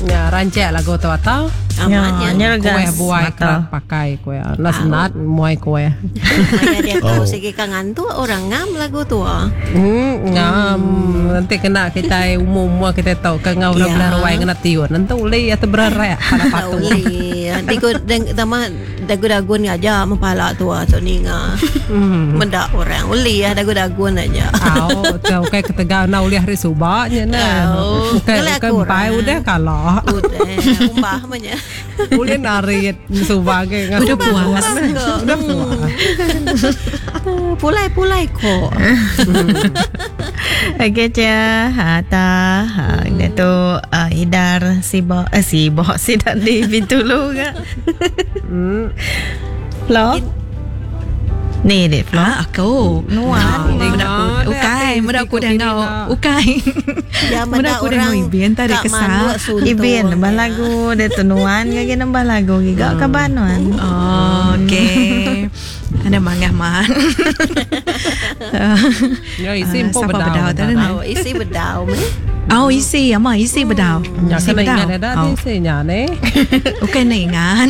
Ya, rancak lagu tu atau. Amat nya. Kuih buai kerat pakai kuih. Enda senat muai kuih. Maya dia tau sigi ka ngantuk orang ngam lagu tu. Hmm, ngam. Nanti kena kitai umur-umur kitai tau ke ngau orang belah ruai ngena tiun. Nentu uli atau bererak pada patu. Uli. Nanti ku tambah dagu-dagun aja mepala tua tu ninga. Meda orang uli ah dagu-dagun aja. Au, tu ukai ketegal enda ulih ari suba nya nah. Ukai ukai empai udah kala. Udah, umbah meh nya. Ulih narit suba agi Udah puas. Udah puas. Pulai-pulai ko. Okey cia, ha ta ha dia tu uh, idar sibo eh sibo sida di Bintulu ga. Hmm. Flo. Ni dek Flo. Ah, aku. Nuan. Meda aku ukai, meda aku dah enggau ukai. Ya, Meda meda aku dah enggau orang Ibin tadi ka kesal. manuk suntung. Ibin nambah lagu dia tu nuan gagi nambah lagu giga kaban nuan. Oh, okey. Ada mangah man. Ya isi empu Siapa bedau. bedau tadi ni? Oh, isi bedau meh. Oh, isi ama isi bedau. Nya Isi kena bedau. ingat ada Oh. ti isi nya ni. Bukan nak ingat.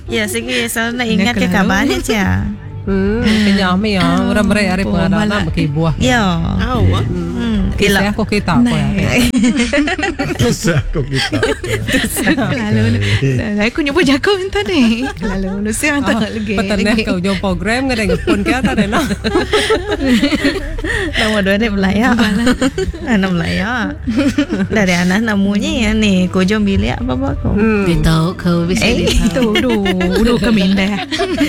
Ya sigi selalu nak ingat ke kelalu. kaban ya cia. Hmm, kenyah mi ya. Orang beri hari Oh, pengadaan malak. berkibuah. Ya. Au. Hmm. Kisah aku kita apa ya. Kisah aku kita. Lalu aku nyebut jago tadi. Lalu lu siang tak lagi. Petenah ke ujung program ke dengan pun ke tadi noh. Nama dua ni belaya. Anak belaya. Dari anak namunya ya ni. Kujung bilik apa apa aku. Ditau kau bisa Eh. ditau. Itu du du kami dah.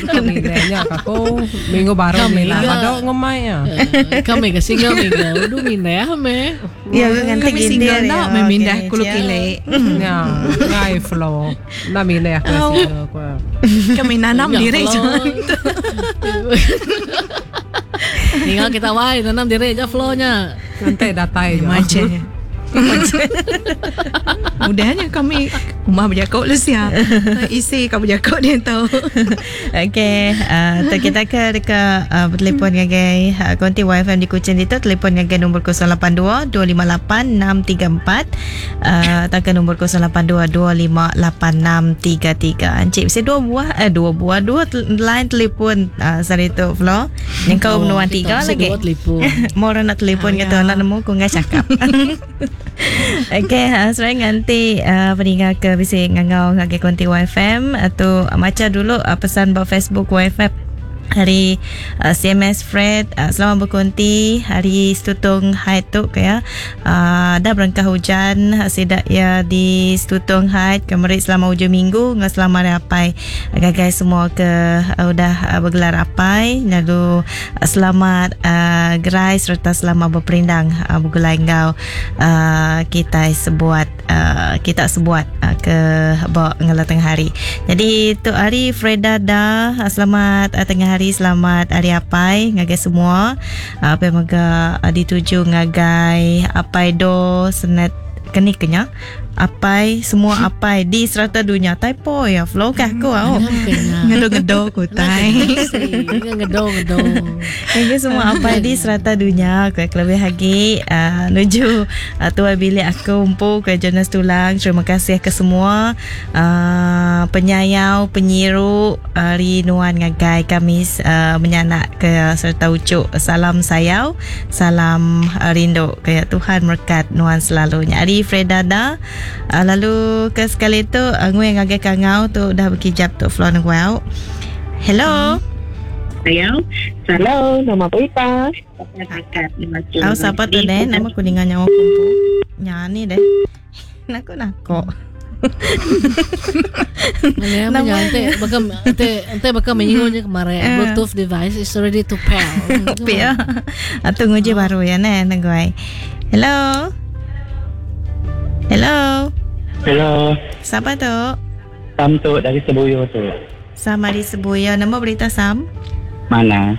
Kami aku minggu baru Kami ni lah. ke. Padok ngemai ya. Kami ke single minggu du mindah me. Ya nganti Kami single nak me mindah kulu kile. Ya, ngai flow. Na mindah aku single aku. Kami nanam Ya, diri flow. je. Tinggal kita wai nanam diri aja flow-nya. Nanti datai je. Macam. Mudahnya kami rumah berjakok lu siap. Isi kau berjakok dia tahu. Okey, tu kita ke dekat bertelefon ngagai konti YFM di Kuching itu telefon ngagai nombor 082 258 634 atau ke nombor 082 258 633. Encik mesti dua buah eh dua buah dua line telefon sehari tu Flo. Yang kau Oh, menuan kita tiga mesti lagi. Dua telefon. Mau orang nak telefon kata nak nemu ku ngai cakap. Okey, sebenarnya nanti peninggal ke bisik ngangau ngagai konti YFM atau baca dulu pesan ba Facebook YFM hari CMS Fred selamat berkonti hari Stutung Haid tu ke ya dah berengkah hujan sidak ya di Stutung Haid kemerit selama hujung minggu dengan selama hari apai gagai semua ke udah bergelar apai lalu selamat gerai serta selamat berperindang bergulai enggau kita sebuat kita sebuat ke ba ngela tengah hari. Jadi tu hari Freda dah selamat tengah hari selamat hari apai ngagai semua. Apa mega dituju ngagai apai do senet keni kenya apai semua apai di serata dunia typo ya flow kah aku au. Ngedo-ngedo ku tai. Ngedo-ngedo. Ngagai semua apai di serata dunia aku lebih lagi nuju tuai bilik aku empu ke Jonas Tulang. Terima kasih ke semua penyayau penyiru hari nuan ngagai kami menyanak ke serta ucuk salam sayau salam rindu ke Tuhan berkat nuan selalu. Nyari Freda dah lalu ke sekali tu ngui ngagai kangau tu dah berkijap tu Flo nengguau. Hello. Hello, hello, nama berita. Aku siapa tu deh? Nama aku dengar nyawa kumpul. Nyanyi deh. Nako nako. Mana Nama ante baka ante ante baka menyinggung kemarin Bluetooth device is ready to pair. Kopi ya. Atau nguji baru ya neh nengguai. Hello. Hello. Hello, Siapa tu? Sam tu dari Sebuyo tu. Sama di Sebuya. Nama berita Sam? Mana?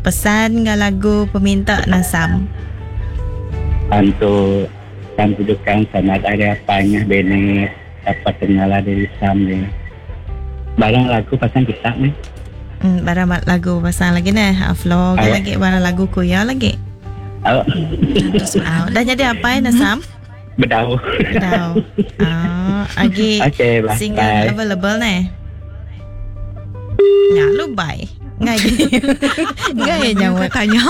Pesan ngah lagu peminta Nasam. Sam tu, Sam tujukan sanad ada apanya bene dapat kenalan dari Sam ni. Barang lagu pasang kita ni. Barang lagu pasang lagi neh. Flow Awak. lagi barang lagu kuya lagi. Oh. Dah jadi apa ya Nasam? Bedau. Bedau. Ah, agi Okay, bye. single Bye. available ne. Ya, lu bye. Ngai. Ngai nyawa tanya.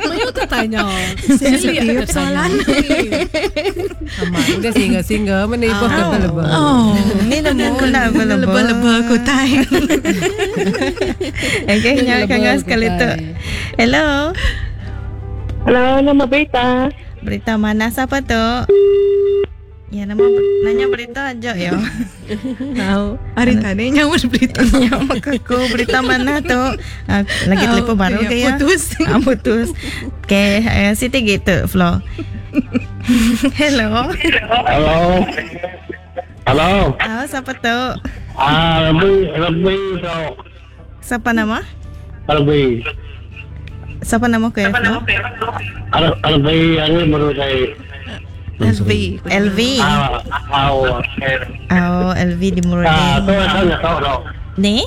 Mayu tu tanya. Sensitif soalan. Amat. Dia single-single mana ibu available. Oh, Ni nemu nak available. Lebih-lebih aku tay. Okay, nyawa Lebih kangau sekali tu. Hello. Hello, nama Berita. Berita mana siapa tu? Ya, nama nanya berita aja ya. Tahu. Hari tadi nyawa berita. Nyawa aku berita mana tu? Ah, lagi Oh, telefon baru ya, ke ya? putus. Ah, putus. Okay, eh, Siti gitu, Flo. Hello. Hello. Hello. Ah, siapa tu? Ah, lebih lebih so. Siapa nama? Lebih. Siapa nama kau ya, Flo? Lebih hari baru saya. LV. LV. Ah, oh. Oh, LV di Ah, Murudin. tu tu tu tu. Ni?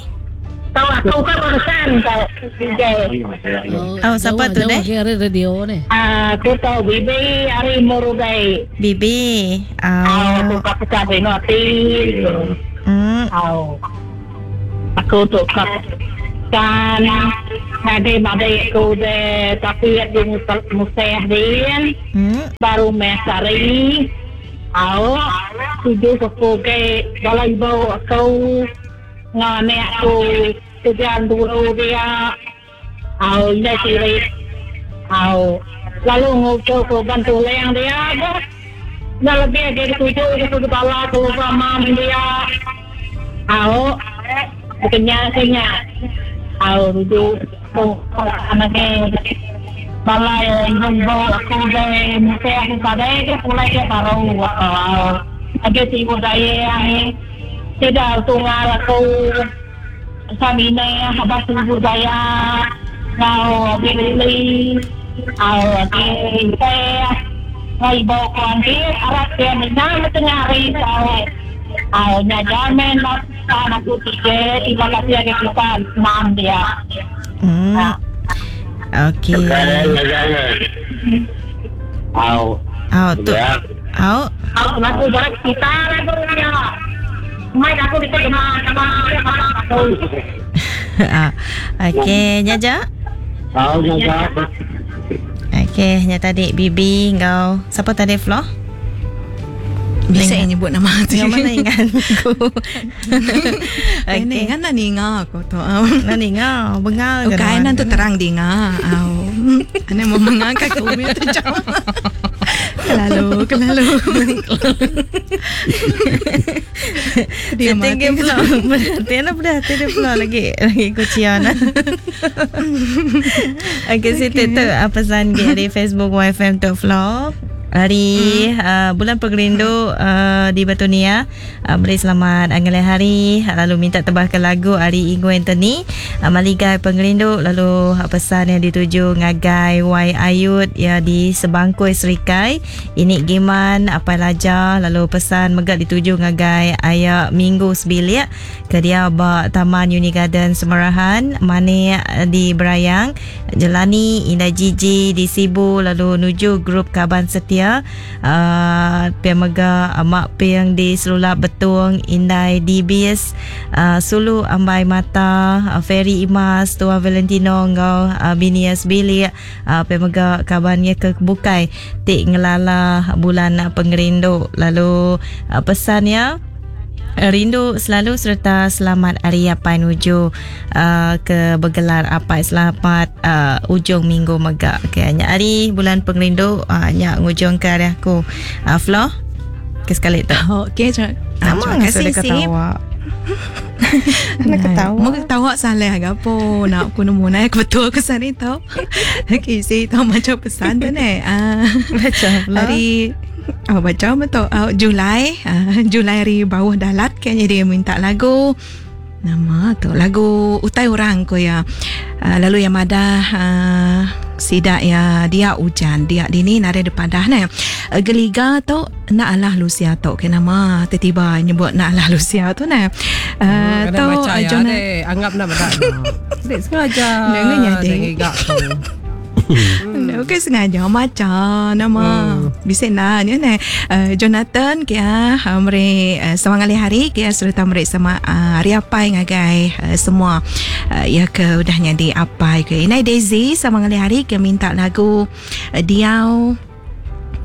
Tahu aku kan urusan tau DJ. Oh, siapa tu deh? Dia ada radio ni. Ah, aku tahu bibi hari murugai. Bibi. Ah, aku Oh. kat pecah noti. Oh. Aku tu kat kan ada badai aku de tapi di museh din baru mesari. Au, tujuh aku ke balai bau aku ngane aku tujuan dulu dia. Au, dia ciri. Au, lalu ngucap ke bantu leng dia. Dah lebih dari tujuh itu kepala aku sama dia. Au, bukannya kenya. Au, tujuh aku anaknya balai jumbo aku deh mesti aku kadai ke pulai ke baru. Au, ada tibu saya yang tidak tunggal aku samine habas ibu saya ngau beli au ke ngai bo kon di arat ke minang tengah hari tau au nya jamin lah aku tiga tiba lagi ke kita mam dia Okey. Au. Au tu. Au. Au aku jarak kita lagu dia Mai aku bisa kena sama sama aku. Ah, Okey, Jaja. Au jaja. Okey, nya tadi Bibi kau. Siapa tadi Flo? Bisa yang nyebut nama tu. Yang mana ingat aku? Okey. Ini ingat nak ninga aku tu. Nak ninga, bengal ke Okey, nuan? nanti terang dinga. Au. Ane mau mengangkat ke umi tu jauh. Kelalu, kelalu. Dia tinggi pula. Berhati nak berhati dia pula lagi lagi kucian. Okey, Siti tu apa pesan di Facebook YFM tu Flo. Hari bulan pengerindu di Batu Nia beri selamat Angelai Hari lalu minta tebahkan lagu Ari Ingu Anthony Maligai Pengerindu lalu pesan yang dituju ngagai Y Ayut ya di Sebangkui Serikai ini Giman Apai Laja lalu pesan megak dituju ngagai Ayak Minggu Sebilik ke dia ba Taman Uni Garden Semarahan Manik di Berayang Jelani Indah Gigi di Sibu lalu nuju grup Kaban Setia Pia Mega Mak Piang di Selulap Betung Indai DBS Sulu Ambai Mata Ferry Imas Tua Valentino ngau Binias Bilik Pia Mega kabannya ke Bukai Tik ngelala bulan pengerindu lalu pesannya Rindu selalu serta selamat hari apai nuju ke bergelar apai selamat ujung minggu megak. Okey, nyak hari bulan pengerindu nyak ngujung ke hari aku. Flo ke sekali tu. Okey, Nama terima kasih ngasuh dia Sip. ketawa. Nak ketawa. Mau ketawa salah gapo nak aku nemu naik betul aku sari tau. Okey, si tau macam pesan tu ni. Ah, baca pula. Hari Oh, baca betul. Oh, Julai, Julai hari bawah dalat kayaknya dia minta lagu. Nama tu lagu Utai Orang ko ya. Lalu yang ada sidak ya dia hujan dia dini nare depan dah ne. Geliga tu nak alah Lucia tu ke nama tiba-tiba nyebut nak alah Lucia tu ne. Kadang tu baca ya dek, anggap nak badak. Dek sengaja. Nak nanya, dek. Dek gigak tu. Okey sengaja macha nama bisi enda nya neh. Jonathan kia meri selamat ngalih hari kia sereta meri selamat hari apai ngagai semua iya ke udah nyadi apai ke. Indai Daisy selamat ngalih hari kia minta lagu Diau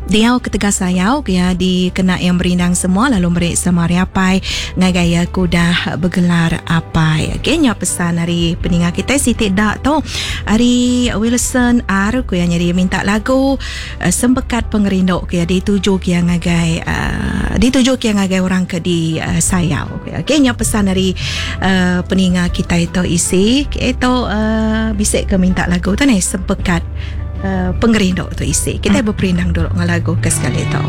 Diau ketegal sayau ke iya dikena iya merindang semua lalu meri sama hari apai ngagai iya ke udah begelar apai. Okey nya pesan ari peninga kitai siti da tu ari Wilson R ku iya nyadi minta lagu Sempekat Pengerindu ke iya dituju ke iya ngagai uhh dituju ke iya ngagai orang ke di sayau. Okey nya pesan ari uhh peninga kitai tu isi. Okey tu uhh bisi ke minta lagu tu neh Sempekat. Pengerindu tu isi. Kitai beperindang dulu enggau lagu ke sekali tu.